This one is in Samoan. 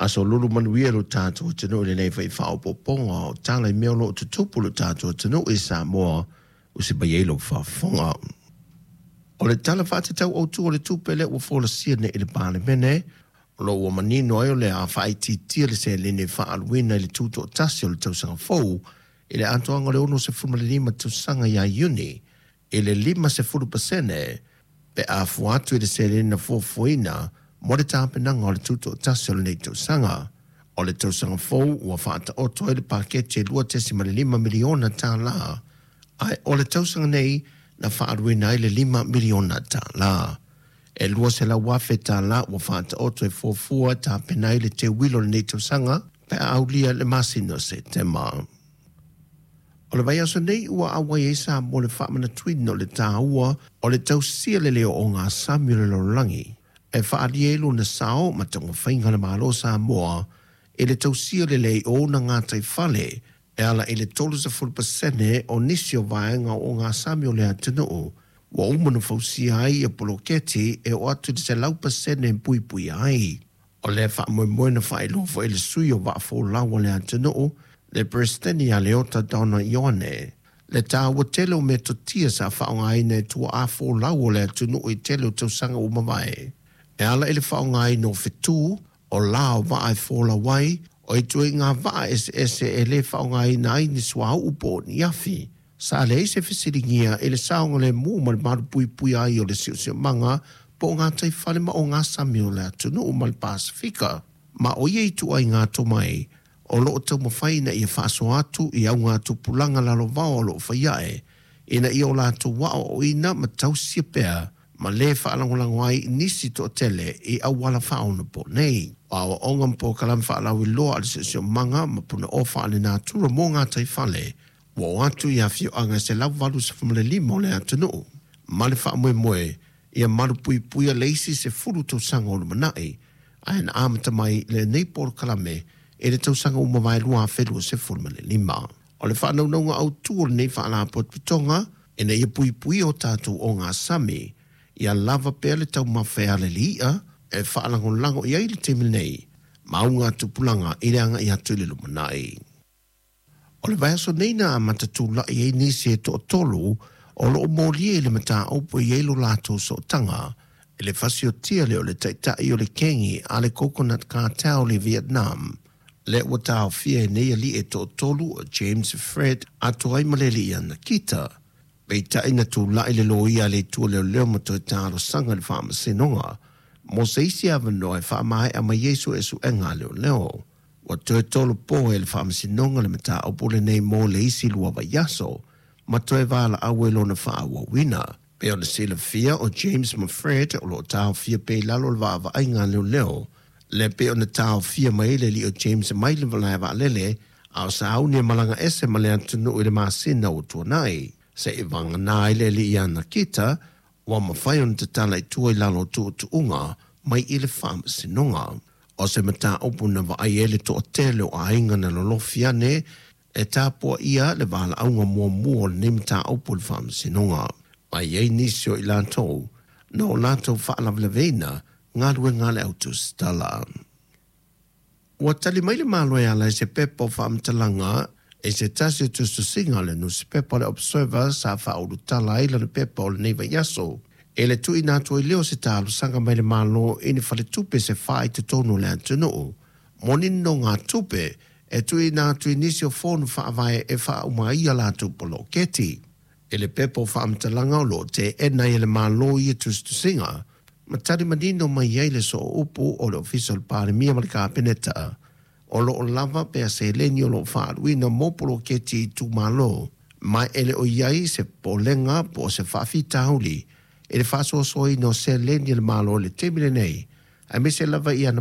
Aso lulu manuia lo tātou atunuu i lenei foi faaopoopoga o tala i mea o lo o tutupu i lo tātou atunuu i Samoa ua se mai ai lou faafofoga. O le Tala Faatatau Autu o le Tupe lea ua folasia nei i le Palemene, o lo o ua manino ai o le a faaitiitia le seleni e faaaluina i le tutoatasi o le tausaga fou i le atoaga o le 65 tausaga ia Iuni i le 50% pe a fua atu i le seleni na fuafuaina mo le tapenaga o le tutoatasi o lenei tausaga. O le tausaga fou ua faataoto ai le paketi e $2.5 miliona, ae o le tausaga nei na faaaluina ai le $5 miliona. E $200,000 ua faataoto e fuafua e tapena ai le teuilo o lenei tausaga pe a aulia le masina o Setema. O le vaiaso nei ua auai ai Samoa i le faamanatuina o le taua o le tausia lelei o ogasami o le lalolagi e faaalia ai lona sao ma taumafaiga a le Malo o Samoa i le tausia lelei o ona gataifale e ala i le 30% o nisi o vaega o ogasami o le atunuu ua uma ona fausia ai ia poloketi e oo atu i le 100% e puipuia ai. O lea faamoemoe na faailoa foi e le sui o Vaafolau a le atunuu, le Peresetene ia Leota Donna Ioane, le taua tele o metotia sa faaaogaina e tuaa folau o le atunuu i tele o tausaga ua mavae, e ala i le faaaogaina o fetu, o la o vaa e folau ai, o ituaiga vaa eseese e le faaaogaina ai ni suauu po o ni afi. Sa leai se fesiligia i le saogalemu ma le malupuipuia ai o le siosiomaga po o gataifale ma ogasami o le atunuu ma le Pasefika. Ma o ia ituaiga tomai o lo o taumafai ina ia faasoa atu i augatupulaga lalovaoa o lo o fai ae, ina ia o latou aoaoina ma tausia pea ma lē faalagolago ai nisi toatele i auala faaonaponei. O aoaoga ma polokalame faalauiloa a le Siosiomaga ma Punaoa Faalenatura mo gataifale ua oo atu i afioaga e 185 o le atunuu, ma le faamoemoe ia malupuipuia le isi 10 tausaga o lumanai, ae na amata mai lenei polokalame i le tausaga ua mavae 2025. O le faanaunauga autu o lenei faalapotopotoga, ina ia puipuia o tatou ogasami, ia lava pea le taumafa e ala i le i'a e faalagolago i ai le taimi nei ma augatupulaga i le agai atu i le lumanai. O le vaiaso nei na amata tula'i ai nisi e toatolu o lo o molia i le mataupu e i ai lo latou sootaga i le fasiotia lea o le taitai o le kengi a le Coconut Cartel i Vietnam, lea ua taofia e nei alii e toatolu o James Fred atoa ai ma le alii ia Nikita. Peitai na tula'i le loia a le Itu o Leoleo ma toe talosaga i le Faamasinoga mo se isi avanoa e faamaea mai ai suesuega a leoleo. Ua toe tolopo e le Faamasinoga le mataupu lenei mo le isi 2 vaiaso ma toe valaau ai lona faaauauina. Pei ona silafia, o James ma Fred o lo o taofia pea i lalo o le vaavaaiga a leoleo, lea pei ona taofia mai ai le alii o James mai le malae vaalele a o sauni e malaga ese ma le atunuu i le masina ua tuanai. Seia vagana ai le alii ia Nikita, ua mafai ona tatala i tua i lalo o tuutuuga mai i le Faamasinoga. O se mataupu na vaai ai le toatele o aiga na lolofi ane e tapuaia le valaauga muamua o lenei mataupu i le Faamasinoga. Ma i ai nisi o i latou na o latou faalavelaveina galuega a le au tusitala. Ua tali mai le Malo e ala i se pepa o faamatalaga i se tasi o tusitusiga o le nusipepa o le Observer sa faaulutala ai lana pepa o lenei vaiaso i le tuuina atu ai lea o se talosaga mai le Malo i ni faletupe se fa i totonu o le atunuu mo ni nonogatupe e tuuina atu i nisi o fono faavae e faauma ai a latou poloketi. I le pepa o faamatalaga o lo o teena ai e le Malo ia tusitusiga, ma tali manino mai ai le sooupu o le Ofisa o le Palemia ma le Kapeneta, o lo o lava pea seleni o lo o faaaluina mo poloketi i itumalo, ma e le o i ai se popolega po o se faafitauli i le faasoasoaina o seleni a le Malo i le taimi lenei, aemaise lava i ana